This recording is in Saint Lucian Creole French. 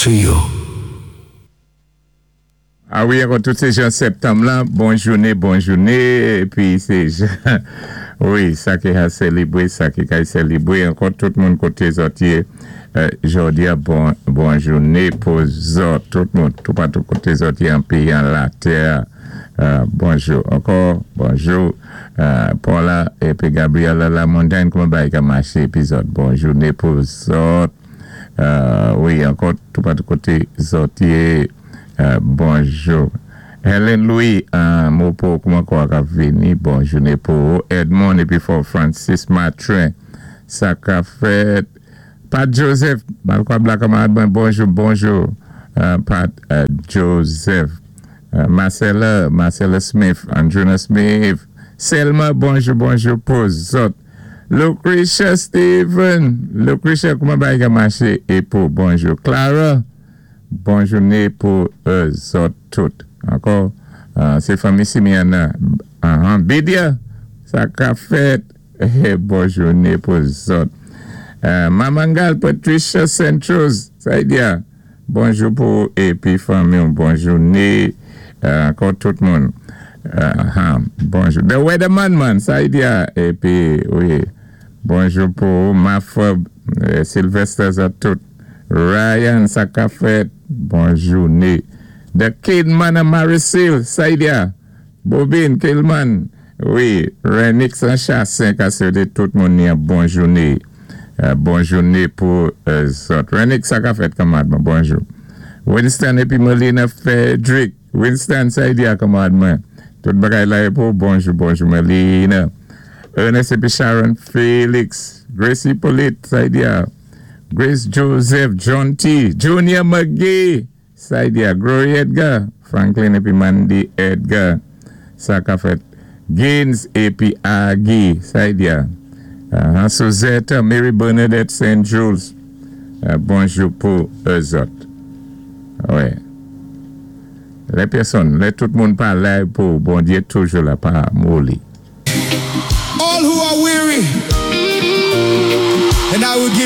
To you. A wi, ankò tout sé jan septanm la, bon jouné, bon jouné, épi sé jan, wi, sa ki ka sélébwé, sa ki kay sélébwé, ankò tout moun koté zòt yé, jòdi-a, bon jouné pou zòt, tout moun, toupatou koté zòt yé an péyi an latè, bonjou, ankò, bonjou, Paula épi Gabriella Lamontagne, kouman bagay ka maché épi zòt, bon jouné pou zòt, wi, ankò toupatou koté zòt yé. Bonjou. Helen Louis, mo pou kouman kwa ka vini, bon jouné pou Edmond épi Fort Francis Matrin. Sa ka fèt. Pat Joseph, Malkwa Black, bonjou, bonjou. Pat Joseph. Marcella, Marcella Smith, Andruna Smith. Selma, bonjou, bonjou pou zòt. Lucretia Steven, Lucretia, kouman bagay ka maché é pou bonjou. Clara, bon jouné pou zòt tout. Ankò, sé fanmi Simiana. Bidia, sa ka fèt. Bon jouné pou zòt. Mamangal, Patricia Centros, sa y bonjou pou épi fanmi, bon jouné ankò tout moun. Bonjou. The Weatherman man, sa y épi wi, bonjou pou Mafob, Sylvester zòt tout. Ryan, sa ka fèt, bon jouné. The Kidman and Marisil, sa y Bobin, Killman, wi, Renix an Chassin, ka swété tout moun yon bon jouné. Bon jouné pou zòt. Renix, sa ka fèt kanmad, bonjou. Winston épi Melina Frederick. Winston, sa y kanmad, tout bagay la pou bonjou, bonjou Melina. Ernest épi Sharon Felix. Gracie Hippolyte, sa y Grace Joseph, John T. Junior McGee. Sa y Glory Edgar. Franklin épi Mandy Edgar. Sa ka fèt. Gaines épi Aggie. Sa y Suzette, Mary Bernadette St. Jules. Bonjou pou zòt. Wè. Lè pèsonn, lè tout moun pa la pou Bondyé toujou la pa moli. All who are weary, and I will give